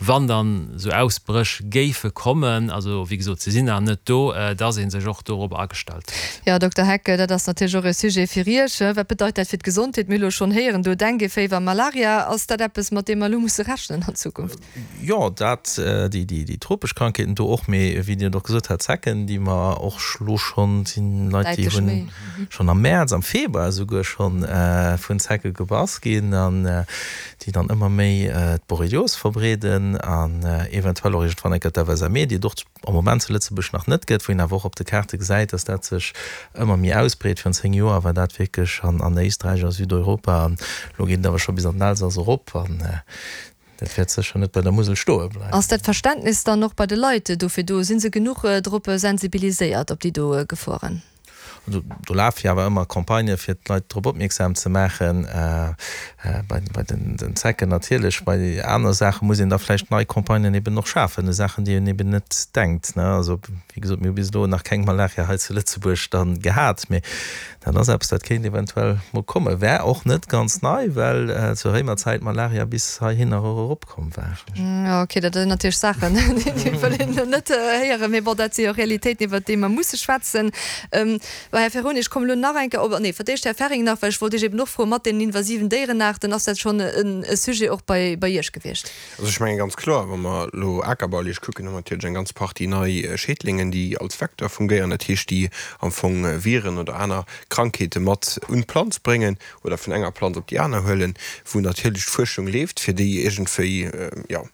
Wann dann esou Ausbréch géife kommen, also wéi gesot, se sinn nach net do, dass ee sech och dorobber agestallt huet. Jo, Dokter Heck, dat ass natierlech och e Sujet fir Iech. Wat bedeit dat fir d'Gesondheet? Mir hu lo schonn héieren do Dengueféiwer, Malaria. Ass dat eppes, mat deem mer elo musse rechnen an Zukunft? Jo, dat, déi tropesch Krankheeten do och, mee wéi Dir et och gesot hat, Zecken, déi mer och elo schonn, sinn Leit, déi hunn schonn am Mäerz, am Februar esouguer schonn vun Zecke gebass ginn. An déi dann ëmmer méi d'Borrelios verbreeden an eventuell och iergendwann eng Kéier d'FSME, déi et och am Moment zu Lëtzebuerg nach net gëtt, wou een awer och op de Kaarte gesäit, dass dat sech ëmmer méi ausbreet. Virun 10 Joer war dat wierklech an Éisträich a Südeuropa an elo geet et awer scho bis an den Elsass erop an dat wäert sécher net bei der Musel stoe bleiwen. Ass dat Verständnis dann och bei de Leit dofir do? Si se genuch drop sensibiliséiert op déi do Geforen? Do lafe jo awer ëmmer Campagnë fir d'Leit drop opmierksam ze maachen. Bei den Zecken natierlech, bei anere Saache muss een da vläicht nei Campagnen eben och schafen, u Saachen, déi een eben net denkt. Also wéi gesot, mir hu bis elo nach keng Malaria hei zu Lëtzebuerg da gehat, mee dat ass eppes, dat kéint eventuell mol kommen. Wär och net ganz nei, well zur Réimerzäit Malaria bis heihinner och erop komm war. Jo, ok, dat sinn natierlech Saachen, déi wëll een net héieren, mee bon, dat si jo Realitéiten, iwwert déi mer musse schwätzen. Bon, Här Ferroni, ech kommen elo nach eng Kéier op, nee, fir d'éischt Här Ferring nach, well ech wollt Iech eben och froen, mat deenen invasiven Déierenaarten, ass dat schonn e Sujet och bei Iech gewiescht? Also ech menge ganz kloer, wa mer elo akerbaulich kucken, hu mer natierlech eng ganz Partie nei Schädlingen, déi als Vecteur fungéieren, dat heescht, déi am Fong Viren oder aner Krankheete mat un d'Planz bréngen. oder vun enger Planz op déi aner huelen, wou natierlech d'Fuerschung leeft, fir déi iergendwéi, jo,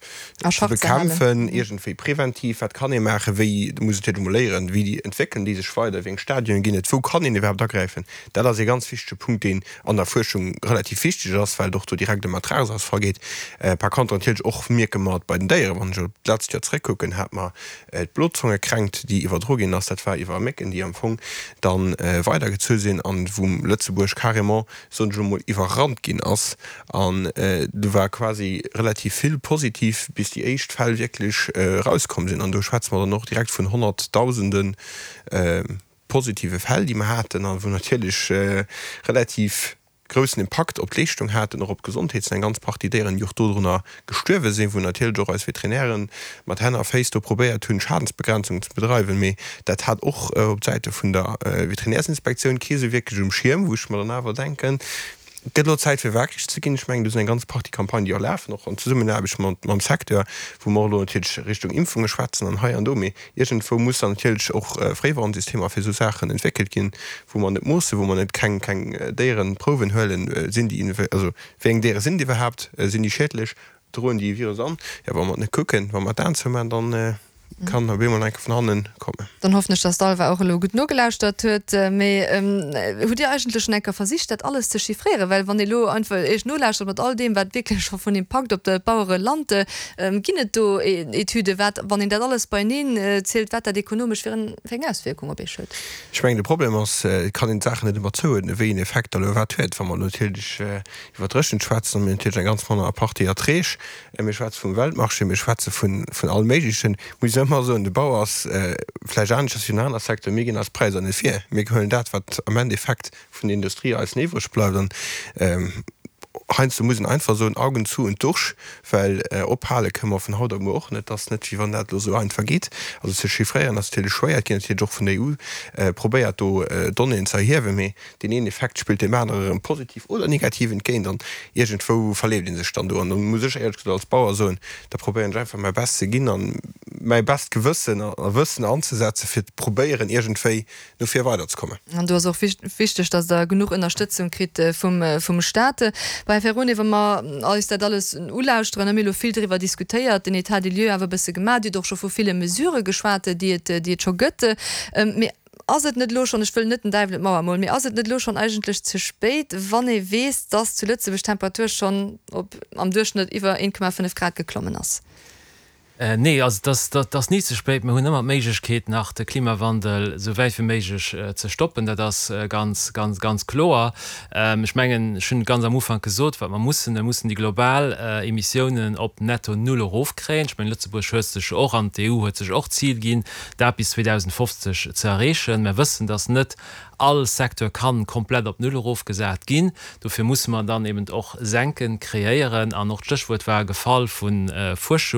ze bekämpfen, iergendwéi preventiv. Wat kann ee maachen, wéi, do muss een natierlech emol léieren, wéi entwéckelen déi sech weider, wéi eng Stadionen ginn et, wou kann een iwwerhaapt agräifen. Dat ass ee ganz wichtege Punkt, deen an der Fuerschung relativ wichteg ass, well et och do direkt ëm Ertragsausfall geet. Par contre natierlech och mierke mer et bei den Déieren, wann ech op d'letzt Joer zréckkucken, hate mer D'Blozongekränkt, déi iwwerdro ginn ass, dat war iwwer Mécken, déi am Fong da weidergezu sinn an wou Lëtzebuerg carrément, soen ech elo mol, iwwerrannt ginn ass. An do war quasi relativ vill positiv, bis déi éischt Fäll wierklech erauskomm sinn. An do schwätze mer dann och direkt vun Honnertdausende positive Fäll, déi mer haten a wou natierlech relativ groussen Impakt op d'Leeschtung haten, och op d'Gesondheet, sinn eng ganz Partie Déieren, déi och dodrunner gestuerwe sinn, wou natierlech och eis Veterinären mat Hänn a Féiss do probéiert hunn, Schadensbegrenzung ze bedreiwen. Mee dat hat och op Säite vun der Veterinärsinspektioun kee sou wierklech um Schierm, wou ech mer dann awer denken, Et gëtt elo Zäit fir waakreg ze ginn. Ech mengen, do sinn eng ganz Partie Campagnen, déi och lafen, och an Zesummenaarbecht mam Secteur, wou mer och elo natierlech Richtung Impfunge schwätzen an hei an do. Mee Iergendwou muss dann natierlech och Fréiwarnsystemer fir esou Saachen entwéckelt ginn, wou mer net moossen, wou mer net keng keng Déierenprouwen huelen, sinn déi, also wéi eng Déiere sinn et iwwerhaapt, sinn déi schiedlech, droen déi e Virus an? Jo, wa mer et net kucken, wa mer d'Aen zoumaachen, dann kann op eemol enke vun hannen kommen. Dann hoffen ech, dass d'Alva och elo gutt nogelauschtert huet. Mee hutt Dir eigentlech schonn eng Kéier versicht, dat alles ze chiffréieren? Well wann ee elo einfach Iech nolauschtert mat all deem, wat wierklech scho vun Impakt op d'Bauere lant, Ginn et do Etüden, wat, wann een dat alles beieneen zielt, wat dat ekonomesch fir eng Auswierkung op Iech huet? Ech mengen, de Problem ass, et kann een d'Saachen net ëmmer zouuerdnen, wéi een Effekt da elo wat huet. Wa mer natierlech iwwer d'Dréchent schwätzen, hu mir natierlech eng ganz manner Partie Erträg. Mir schwätze vum Weltmarché, mir schwätze vun allem Méiglechen. Muss ech ëmmer soen, de Bau ass vläicht aneschters wéi en aner Secteur, mir ginn eis Präisser net vir. Mir huelen dat, wat am Endeffekt vun der Industrie eis iwwreg bleift. An heiansdo muss een einfach soen, Augen zu und durch, well ophale kënne mer vun haut op muer och net. Et ass net, wéi wann dat elo esou einfach geet. Also ze chiffréieren ass natierlech schwéier. Et ginn natierlech och vun der EU probéiert, do Donnéeën ze erhiewen, mee deen een Effekt spillt deem anere erëm positiv oder negativ entgéint an iergendwou verleeft ee sech dann do. An da muss ech éierlech gesot als Bauer soen, da probéieren ech einfach mäi Best ze ginn an mäi best Gewëssen a Wëssen anzesetzen, fir probéieren iergendwéi no vir weiderzekommen. An do ass och wichteg, datt Der genuch Ënnerstëtzung kritt vum Staat. Bon, Här Ferrone, wa mer eis dat alles ulauschteren, hu mir elo vill driwwer diskutéiert, den État des lieux awer e bësse gemaach. Dir hutt och scho vu ville Mesurë geschwat, déi et, déi et scho gëtt. Mee ass et net elo schonn, ech wëll net den Däiwel un d'Mauer molen, mee ass et net elo schonn eigentlech ze spéit, wann ee weess, datt zu Lëtzebuerg d'Temperatur schonn op am Duerchschnëtt iwwer 1,5 Grad geklommen ass? Nee, also et ass ni ze spéit. Mir hunn ëmmer d'Méiglechkeet nach de Klimawandel esou wäit wéi méiglech ze stoppen. Dat ass ganz, ganz, ganz kloer. Ech mengen, ech hunn ganz am Ufank gesot, wat mer mussen, Mir mussen déi global Emissiounen op netto null erofkréien. Ech mengen, Lëtzebuerg huet sech och an d'EU huet sech och d'Zil ginn, dat bis 2050 ze erreechen. Mer wëssen, datt net all Secteur kann komplett op null erofgesat ginn. Dofir musse mer dann eben och Senken kreéieren. An och d'Stéchwuert war gefall vu Fuerschung.